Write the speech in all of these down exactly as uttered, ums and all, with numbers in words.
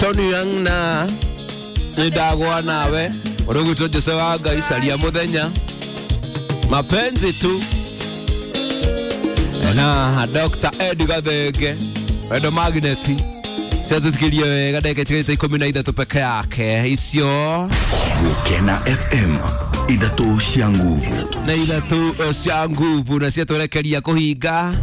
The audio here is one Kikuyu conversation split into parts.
Tony Young na nindagwa nawe urugwitwo Jose wa Ngai caria muthenya mapenzi tu na Doctor Ed Gathenge wendo magneti ciatũtikirie wega ndagĩka itigarĩte ikũmi na ithatũ peke yake icio Gukena F M ithatũ cia nguvu na ithatũ cia nguvu na ciatwerekeria kũhinga.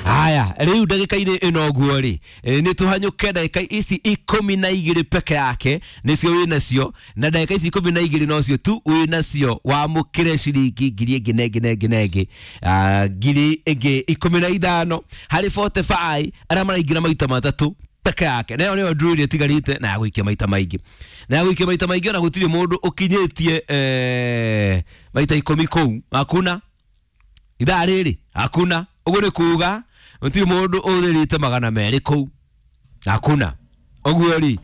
Haya, rĩu ndagĩka-inĩ ĩno ũguo rĩ, nĩ tũhanyũke ndagĩka ici ikũmi na igĩrĩ peke yake nĩcio wĩnacio, na ndagĩka ici ikũmi na igĩrĩ nocio tu wĩnacio wamũkĩre ciringi ngiri ĩngĩ na ĩngĩ na ĩngĩ na ĩngĩ, ngiri ĩngĩ ikũmi na ithano harĩ forty-five arĩa maraingĩra maita matatũ peke yake. Nayo nĩyo draw ĩrĩa ĩtigarĩte na ya gũikia maita maingĩ, na ya gũikia maita maingĩ ona gũtirĩ mũndũ ũkinyĩtie eh, maita ikũmi kũu, hakuna ithaa rĩrĩ, hakuna. Ũguo nĩ kuga gũtirĩ mũndũ ũthĩrĩte magana merĩ kũu, hakuna. Ũguo rĩ,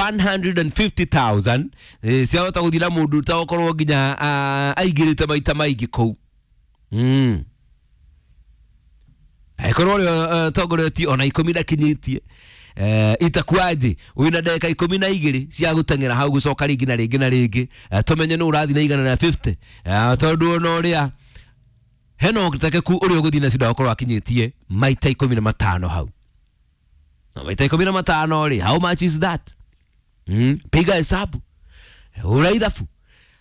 one hundred and fifty thousand ciahota gũthiĩ na mũndũ ũtagũkorwo nginya aingĩrĩte maita maingĩ kũu. Mm. Angĩkorwo ũrĩa tongoretie ona ikũmi ndakinyĩtie, itakuaje wĩna ndagĩka ikũmi na igĩrĩ cia gũteng'era hau gũcoka rĩngĩ na rĩngĩ na rĩngĩ, tũmenye nũ ũrathiĩ na igana na fifty, tondũ ona ũrĩa hena ũhotekeku ũrĩa ũgũthiĩ nacio ndagakorwo akinyĩtie maita ikũmi na matano hau. Na maita ikũmi na matano rĩ, how much is that? Mm, piga hesabu, hũra ithabu.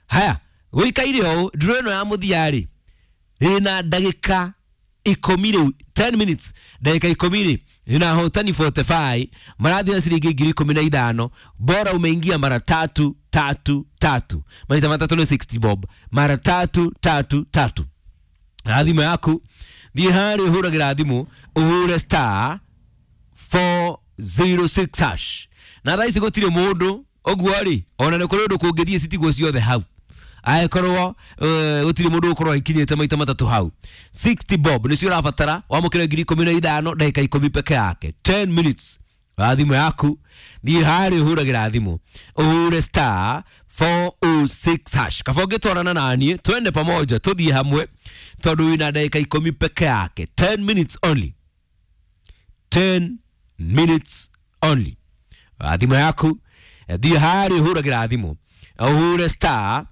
Haya, gũikaire ũũ, draw ĩno ya mũthia rĩ ĩna ndagĩka ikũmi rĩu, ten minutes, ndagĩka ikũmi rĩ ina hotani forty-five marathiĩ na ciringi ngiri ikũmi na ithano. Bora umeingia mara tatu tatu tatu, maita matatũ nĩ sixty bob, mara tatu tatu tatu. Na thimũ yaku thiĩ harĩa ũhũragĩra thimũ ũhũre star four zero six hash. Na thaa ici gũtirĩ mũndũ ũguo rĩ, ona nĩ kũrĩ ũndũ kũngĩthiĩ citigwo ciothe hau, angĩkorwo gũtirĩ mũndũ ũgũkorwo aikinyĩte maita matatũ hau. sixty bob nĩcio ũrabatara wamũkĩre ngiri ikũmi na ithano ndagĩka ikũmi peke yake, ten minutes. Wa thimũ yaku thiĩ harĩa ũhũragĩra thimũ ũhũre star four oh six hash. Kaba ũngĩtwarana naniĩ twende pamoja tũthiĩ hamwe, tondũ wĩna ndagĩka ikũmi peke yake, ten minutes only, ten minutes only. Wa thimũ yaku thiĩ harĩa ũhũragĩra thimũ ũhũre star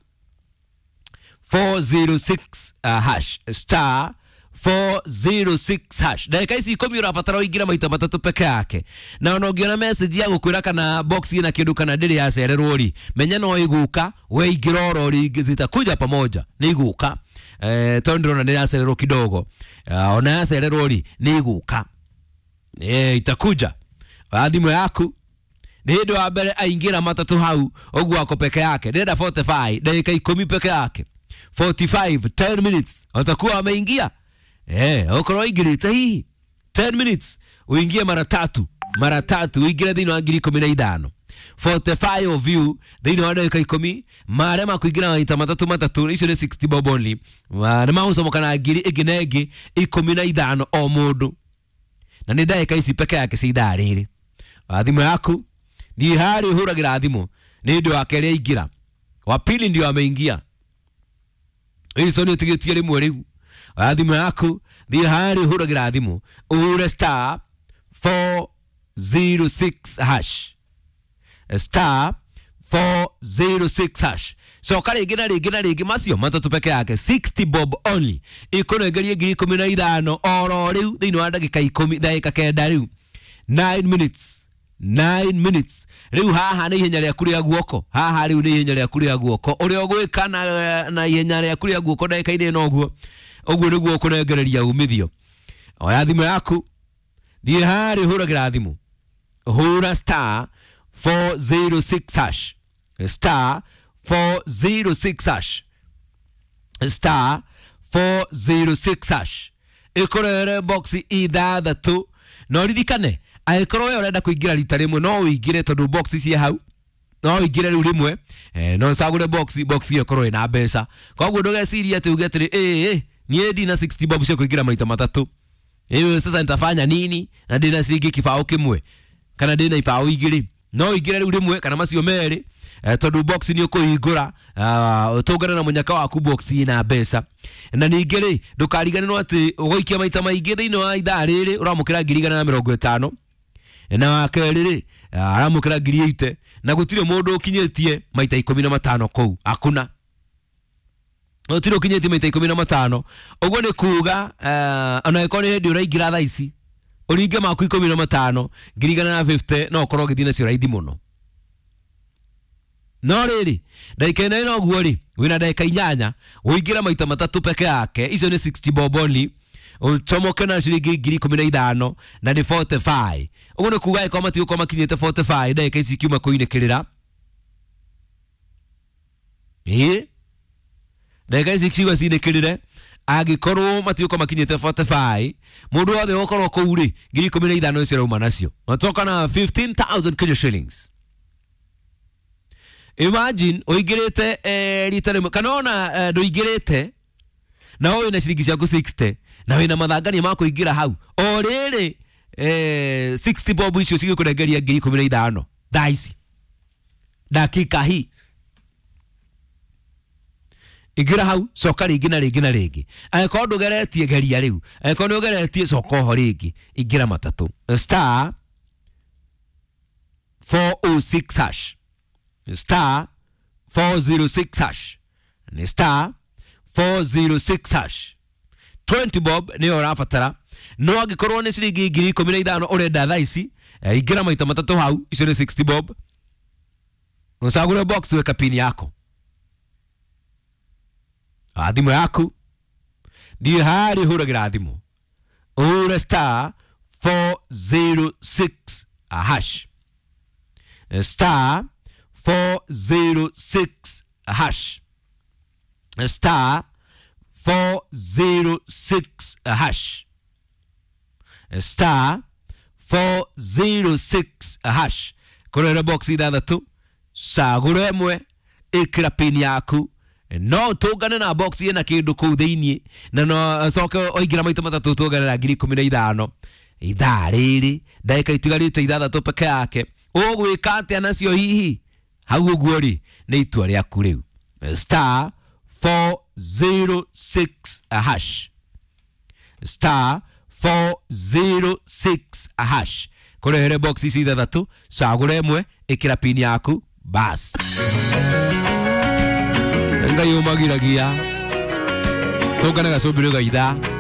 four zero six hash, star four zero six hash. Ndagĩka ici ikũmi ũrabatara ũingĩre maita matatũ peke yake, na ona ũngĩona message ya gũkwĩra kana box ĩna kĩndũ kana ndĩrĩ yacererwo rĩ, menya no ĩgũka, we ingĩra oro rĩngĩ, zitakuja pamoja, nĩ igũka. Eh, tondũ ndĩrona nĩ yacererwo kidogo, ona yacererwo rĩ nĩ igũka, eh, itakuja. Wa thimũ yaku nĩ hĩndĩ wa mbere aingĩra matatũ hau ũguo ako peke yake, ndĩrenda forty-five ndagĩka ikũmi peke yake, forty-five ten minutes watakuwa wameingia. Eh, ukorwo ingirite hihi ten minutes uingie mara tatu mara tatu uingire thĩinĩ wa ngiri ikũmi na ithano, forty-five of you thĩinĩ wa ndagĩka ikũmi marĩa makũingĩra maita matatũ matatũ, icio nĩ sixty bob only, nĩ magũcomoka na ngiri ĩngĩ na ĩngĩ ikũmi na ithano o mũndũ, na nĩ ndagĩka ici peke yake cia ithaa rĩrĩ. Wa thimũ yaku thiĩ harĩa ũhũragĩra thimũ, nĩ hĩndĩ wa kerĩ aingĩra, wa pili ndio ameingia, icio nĩ ũtigĩtie rĩmwe rĩu. Wa thimũ yaku thiĩ harĩa ũhũragĩra thimũ ũhũre star four zero six hash, star four zero six hash. Coka rĩngĩ na rĩngĩ na rĩngĩ macio matatũ peke yake, sixty bob only, ĩkũnengerie ngiri ikũmi na ithano oro rĩu thĩinĩ wa ndagĩka ikũmi, ndagĩka kenda rĩu, nine minutes, nine minutes rĩu. Haha nĩ ihenya rĩaku rĩa guoko, haha rĩu nĩ ihenya rĩaku rĩa guoko, ũrĩa ũgwĩka na na ihenya rĩaku rĩa guoko ndagĩka-inĩ ĩno ũguo ũguo nĩguo ũkũnengereria umithio. Oya thimũ yaku thiĩ harĩa ũhũragĩra thimũ hũra star four zero six hash, star four zero six hash, star four zero six hash, ĩkũrehere box ithathatũ. Na ũririkane angĩkorwo we ũrenda kũingĩra rita rĩmwe no ũingĩre, tondũ box ciĩ hau, no ũingĩre rĩu rĩmwe, eh, no ũcagũre box, box ĩyo ĩkorwo ĩna mbeca. Koguo ndũgecirie atĩ uge atĩrĩ, ĩ niĩ ndina sixty bob cia kũingĩra maita matatũ, ĩyo sasa nitafanya nini na ndina ciringi kĩbaũ kĩmwe kana ndina ibaũ igĩrĩ. No ingire riu rimwe kana macio meri eh, tondu box ni ukuhingura uh, tungane na munyaka waku box ina mbeca. Na ningĩ rĩ ndũkariganĩrwo atĩ ũgũikia maita maingĩ thĩinĩ wa ithaa rĩrĩ ũramũkĩra ngiri igana na mĩrongo ĩtano, na wa kerĩ rĩ aramũkĩra ngiri ite, na gũtirĩ mũndũ ũkinyĩtie maita ikũmi na matano kũu, hakuna gũtirĩ ũkinyĩtie maita ikũmi na matano. Ũguo nĩ kuga uh, ona ĩkorwo nĩ hĩndĩ ũraingĩra thaa ici ũringe maku ikũmi na matano ngiri igana na fifty no ũkorwo ũgĩthiĩ nacio raithi mũno. No rĩrĩ ndagĩka ĩno ĩna ũguo rĩ wĩna ndagĩka inyanya ũingĩre maita matatũ peke yake, icio nĩ sixty bob only, ũcomoke na ciringi ngiri ikũmi na ithano na nĩ forty five. Ũguo nĩ kuga ĩkorwo matigũkorwo makinyĩte forty five ndagĩka ici kiuma kũinĩkĩrĩra, ĩĩ ndagĩka ici kiuga cinĩkĩrĩre, angĩkorwo matigũkorwo makinyĩte forty five mũndũ wothe ũgũkorwo kũu rĩ ngiri ikũmi na ithano icio arauma nacio, matoka na fifteen thousand Kenya shillings. Imagine ũingĩrĩte eh, rita rĩmwe kana ona eh, ndũingĩrĩte na ũyũ na ciringi ciaku sixty na wĩna mathangania ma kũingĩra hau o rĩrĩ eh, sixty bob icio cigĩkũrengeria ngiri ikũmi na ithano thaa ici dakika hii. Ingĩra hau coka rĩngĩ na rĩngĩ na rĩngĩ, angĩkorwo ndũgeretie geria rĩu, angĩkorwo nĩ ũgeretie coka oho rĩngĩ, ingĩra matatũ star four oh six hash, star four zero six hash, ni star four zero six hash. twenty bob nĩyo ũrabatara, no angĩkorwo nĩ ciringi ngiri ikũmi na ithano ũrenda thaa ici ingĩra maita matatũ hau, icio nĩ sixty bob. Ũcagũre box weka pin yako thimũ yaku, thiĩ harĩa ũhũragĩra thimũ ũhũre star four zero six hash, star four zero six hash, star four zero six hash, star four zero six hash. Kũrora box ithathatũ cagũra ĩmwe ĩkĩra pin yaku, no tũngane na box ĩna kĩndũ kũu thĩiniĩ, na no coke ũingĩra maita matatũ tũngane na ngiri ikũmi na ithano ithaa rĩrĩ ndagĩka itigarĩte ithathatũ peke yake. Ũgwĩka atĩa nacio hihi hau ũguo rĩ nĩ itua rĩaku rĩu. Star four zero six hash, star four zero six hash, kũrehere box ici ithathatũ cagũra ĩmwe ĩkĩra pin yaku bas. Ngai ũmagiragia tũngane gacũmbĩrĩ ga ithaa.